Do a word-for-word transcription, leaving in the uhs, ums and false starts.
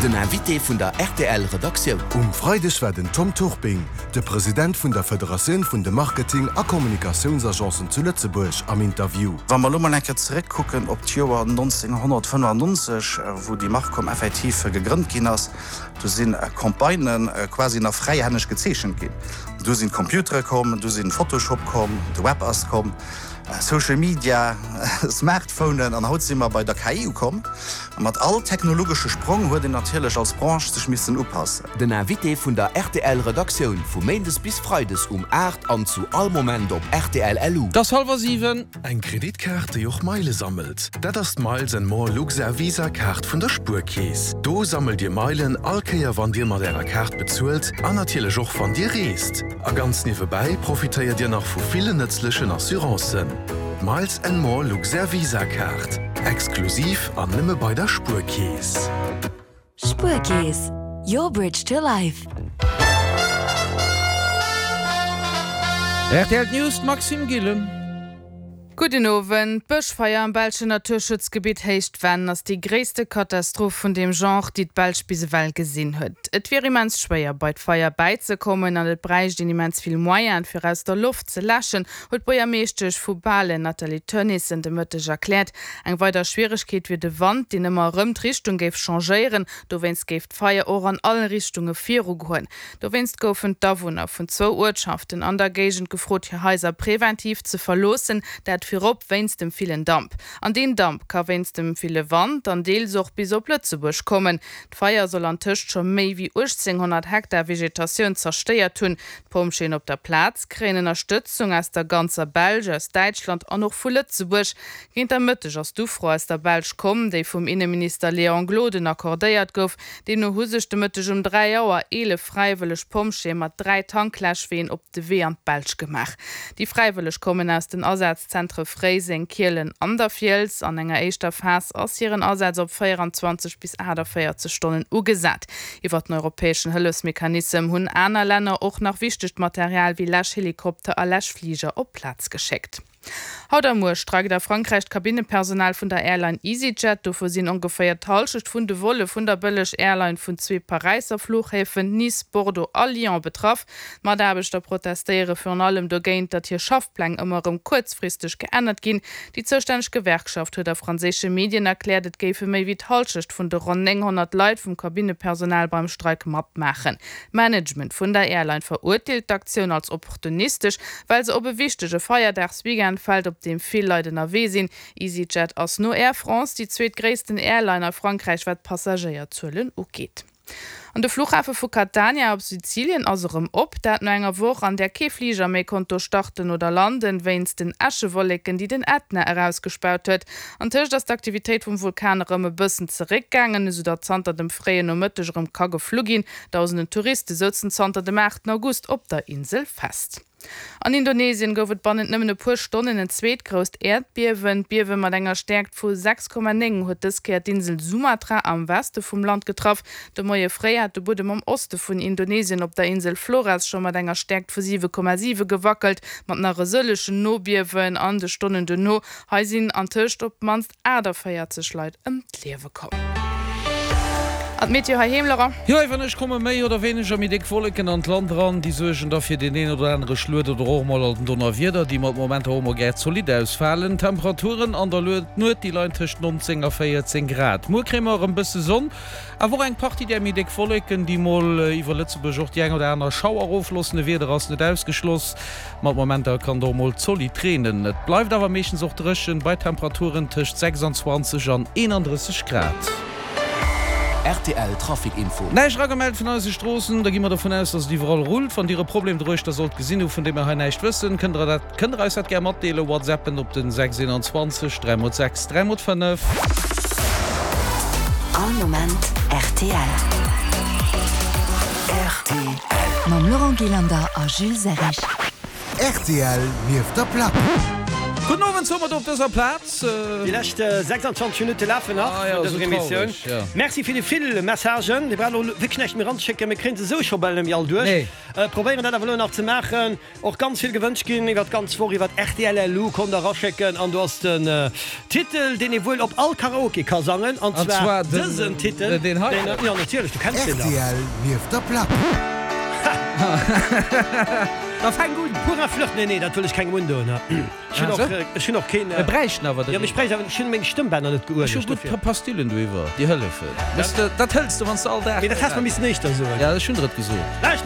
Den Invité vun der rtl Redaktioun. Um Freideg war den Tom Turping, de President vun der Federatioun vun de Marketing a Kommunikatiounsagencen zu Lëtzebuerg, am Interview. Wa mer elo mol eng Kéier zeréckkucken op d'Joer nonzénghonnertfënnefannonzeg, wou déi Marcom effektiv gegrënnt ginn ass, do si Campagnë quasi nach fräihänneg gezeechent ginn. Du sinn d'Computere komm, du sinn Photoshop komm, de Web ass komm. Social Media, Smartphonen an haut si mer bei der K I ukomm. A mat all technologesche Sprong huet een natierlech als Branche sech missen upassen. Den Invité vun der rtl Redaktioun vu méindes bis freides um aacht an zu all Moment op rtl L U. Et ass hallwer siwen. Eng Kreditkaart, déi och Meile sammelt, dat ass d'Miles and More Luxair Visa Kaart vun der Spuerkeess. Do sammelt Dir Meilen all Kéier wann Dir mat Ärer Kaart bezuelt an natierlech och wann Dir reest. A ganz niewebäi profitéiert Dir nach vu villen nëtzlechen Assurancen. D'Miles and More Luxair Visa Kaart, exklusiv an nëmme bei der Spuerkeess. Spuerkeess, your bridge to life. Rtl News, d'Maxime Gillen. Gudden Owend. D'Bëschfeier am belschen Naturschutzgebitt Héicht Venn ass déi gréisste Katastroph vun deem Genre, déi d'Belsch bis ewell gesinn huet. Et wier immens schwéier, bei d'Feier bäizekommen an et bräicht een immens vill Moyene fir aus der Loft ze läschen, huet d'Buergermeeschtesch vu Balen, Nathalie Teunissen, de Mëtteg erkläert. Eng weider Schwieregkeet wier de Wand, deen ëmmer erëm d'Richtung géif changéieren. Dowéinst géif d'Feier och an all Richtunge virugoen. Dowéinst goufen d'Awunner vun zwou Uertschaften an der Géigend gefrot, hir Haiser preventiv ze verloossen, dat virop wéinst dem villen Damp. An deen Damp ka wéinst dem ville Wand dann deels och bis op Lëtzebuerg kommen. D'Feier soll antëscht scho méi wéi uechtzénghonnert Hektar Vegetatioun zerstéiert hunn. D'Pompjeeën op der Plaz kréien Ënnerstëtzung aus der ganzer Belsch, aus Däitschland an och vu Lëtzebuerg. Géint der Mëtteg ass d'Ufro aus der Belsch komm, déi vum Inneminister Léon Gloden accordéiert gouf. Deemno hu sech de Mëtteg um dräi Auer eelef fräiwëlleg Pompjeeë mat dräi Tankläschween op de Wee an d'Belsch gemaach. Déi Fräiwëlleg kommen aus den Asazzentre Fréiseng, Kielen an der Fiels. An enger éischter Phas ass hiren Asaz op véierundzwanzeg bis aachtavéierzeg Stonnen ugesat. Iwwer den europäeschen Hëllefsmechanissem hunn aner Länner och nach wichtegt Material wéi Läschhelikopter a Läschfliger op d'Plaz geschéckt. Haut a muer streikt a Frankräich d'Kabinnepersonal vun der Airline EasyJet. Dovun sinn ongeféier d'Hallschecht vun de Volle vun der Bëlleg-Airline vun zwee Paräisser Fluchhäfen, Nice, Bordeaux a Lyon, betraff. D'Mataarbechter protestéiere virun allem dogéint, datt hir Schaffpläng ëmmer erëm kuerzfristeg geännert ginn. Déi zoustänneg Gewerkschaft huet a franséische Medien erkläert, et géife méi wéi d'Hallschecht vun de ronn nénghonnert Leit vum Kabinnepersonal beim Streik matmaachen. D'Management vun der Airline verurteelt d'Aktioun als opportunistesch, well se op e wichtege Feierdagsweekend fält, op deem vill Leit ënnerwee sinn. EasyJet ass no Air France déi zweetgréissten Airline a Frankräich wat d'Passagéierzuelen ugeet. An de Fluchhafe vu Catania op Sizilien ass erëm op, dat no enger Woch, an där kee Fliger méi konnt do starten oder landen, wéinst den Äschewolleken, déi den Ätna erausgespaut huet. Antëscht ass d'Aktivitéit vum Vulkan erëm e bëssen zeréckgaangen, esou datt zanter dem fréien Nomëtteg erëm ka geflu ginn. Dausenden Touriste souzen zanter dem aachten August op der Insel fest. An Indonesien gouf et bannent nëmmen e puer Stonnen en zweet grousst Äerdbiewen. D'Biewe mat enger Stäerkt vu sechs Komma néng huet dës Kéier d'Insel Sumatra am Weste vum Land getraff. De Moie fréi hat de Buedem am Oste vun Indonesien op der Insel Flores scho mat enger Stäerkt vu siwe Komma siwe gewackelt, mat nach e sëllegen Nobiewen an de Stonnen duerno. Hei sinn antëscht op d'mannst aachtavéierzeg Leit ëm d'Liewe komm. An d'Meteo heiheem, Laurent? Jo, iwwer Nuecht komme méi oder wéineger méi déck Wolleken an d'Land eran. Déi suergen da fir deen een oder anere Schluet oder och mol en Donnerwieder, déi mat Momenter och mol gär zolidd ausfalen. D'Temperaturen an der Nuet, déi leien tëscht nonzéng a véierzéng Grad. Muer kréie mer erëm bësse Sonn, awer och eng Partie där méi déck Wolleken, déi mol iwwer Lëtzebuerg och déi eng oder aner Schauer erofloossen. E Wieder ass net ausgeschloss, mat Momenter kann et och mol zolidd reenen. Et bleift awer meeschtens och dréchen, bei Temperaturen tëscht sechsundzwanzeg an eenandrësseg Grad. R T L Trafic Info. Näischt eragemellt vun eise Stroossen, da gi mer dovun aus, dass et iwwerall rullt. Wann Dir e Problem doruechter sollt gesinn hu vun deem mer hei näischt wëssen, kënnt Der dat, kënnt Der eis dat gär matdeelen, WhatsAppen op den sechs eenanzwanzeg dräi mol sechs dräi mol fënnef. All Moment R T L. R T L. Mam Laurent Gillander a Jules Serrig. R T L nieft der Plack. Gudden Owend soe mer do op dëser Plaz. Déi lescht sechsanzwanzeg Minutte lafen nach Ah jo, vun dëser esou Emissioun. traureg, jo. Merci fir déi vill Messagen. Dir braucht elo wierklech näischt méi eranzeschécken, mir kréien se esou scho bal net méi all duerch. Nee. Probéieren dat awer elo nach ze maachen. Och ganz vill gewënscht ginn iwwer d'ganz Woch iwwer rtl LU konnt der eraschécken an do ass den Titel, deen ee wuel op all Karaoke ka sangen, an An zwar zwar den, dësen Titel, deen hei. deen, jo natierlech, du kenns deen dach. Rtl nieft der Plack. Da fänk un! Pour un flirt, nee, nee, dat wëll ech kengem undoen. Ech hunn Ah, och, sou? ech hunn och keen. Mir bräichten awer Jo, den. mee ech bräicht awer, ech hunn meng Stëmmbänner net Ech hu geuelegt gutt dofir. Pastillen doiwwer, déi hëllefen. Weess de, dat hëls de, wann s de all Dag. Mee dat häss mer missen éischter soen. Ja, ech hunn der et gesot. Lauscht